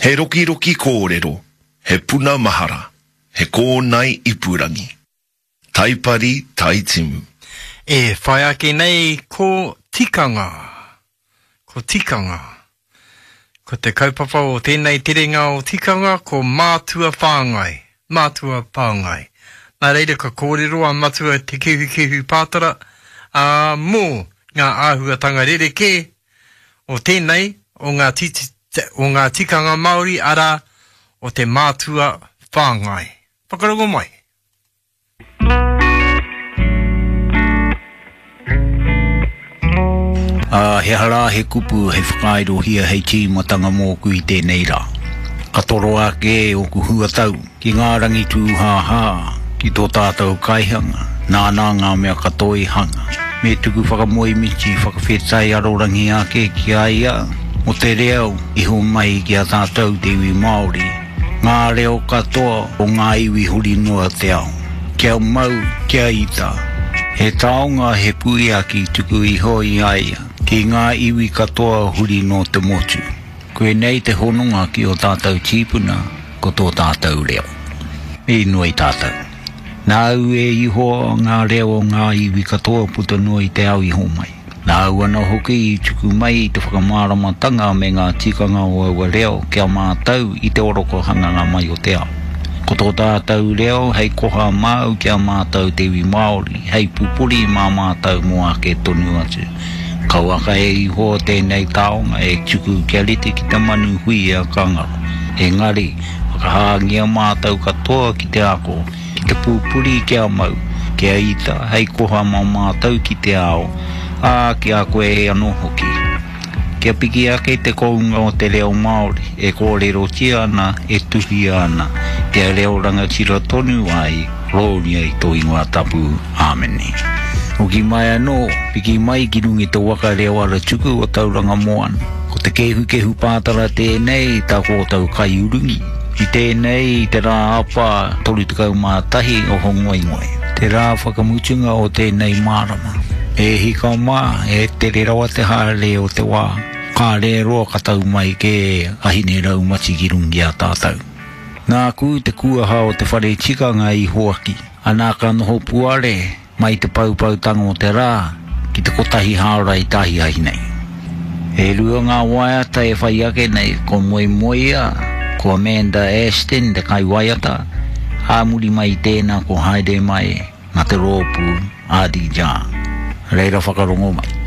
He rokiroki kōrero, he puna mahara, he kōnae ipurangi. Taipari Taitimu. E whai ake nei ko tikanga. Ko tikanga. Ko te kaupapa o tēnei terenga o tikanga ko mātua whāngai. Mātua whāngai. Nā reira ka kōrero a Matua Te Kehukehu Pātara, ā, mō ngā āhuatanga rerekē o tēnei o ngā o ngā tikanga Māori, arā, o te mātua whāngai. Whakarongo mai. Ā, he aha rā he kupu hei whakaairohia hei tīmatanga mōku i tēnei rā? Ka toro ake ōku huatau ki ngā rangi tūhāhā, ki tō tātou kaihanga, nāna ngā mea katoa i hanga. Me tuku whakamoemiti, whakawhetai arorangi ake ki a ia mō te reo i homai ki a tātou te iwi Māori, ngā reo katoa o ngā iwi huri noa te ao. Kia mau, kia ita. He taonga he puiaki tuku iho i a ia ki ngā iwi katoa huri noa te motu. Koinei te hononga ki ō tātou tīpuna, ko tō tātou reo. Me inoi tātou. Nāu e Ihoa ngā reo o ngā iwi katoa puta noa i te ao i homai. Nāu anō hoki i tuku mai i te whakamāramatanga me ngā tikanga o aua reo ki a mātou i te orokohanganga mai o te ao. Ko tō tātou reo hei koha māu ki a mātou te iwi Māori, hei pupuri mā mātou mō ake tonu atu. Kauaka e Ihowa tēnei taonga e tuku kia rite ki te manu huia ka ngaro. Engari, whakahāngia mātou katoa ki te ako, Ki te pupuri kia mau, kia ita hei koha mā mātou ki te ao, ā, ki a koe anō hoki. Kia piki ake te kounga o te reo Māori e kōrerotia ana, e tuhia ana, kia reo rangatira tonu ai, rōria i tō ingoa tapu. Āmene. Hoki mai anō, piki mai ki runga i te waka reo aratuku o Tauranga Moana. Ko te kehukehu pātara tēnei, tā kōtou kaiurungi. I tēnei, i te rā apa 31 o Hongoingoi, te rā whakamutunga o tēnei marama. E hika mā, e tere rawa te haere o te wā, kāre e roa ka tau mai kē a Hine Raumati ki runga i a tātou. Nāku te kuaha o te whare tikanga i hoaki, anā ka noho puare, Mai te poupoutanga o te rā ki te kotahi hāora i te ahiahi nei. E rua ngā waiata e whai ake nei, ko Moemoea, ko Amanda Ashton te kaiwaiata, ā muri mai i tēnā ko Haere Mai nā te rōpū Adi Jah. Reira whakarongo mai.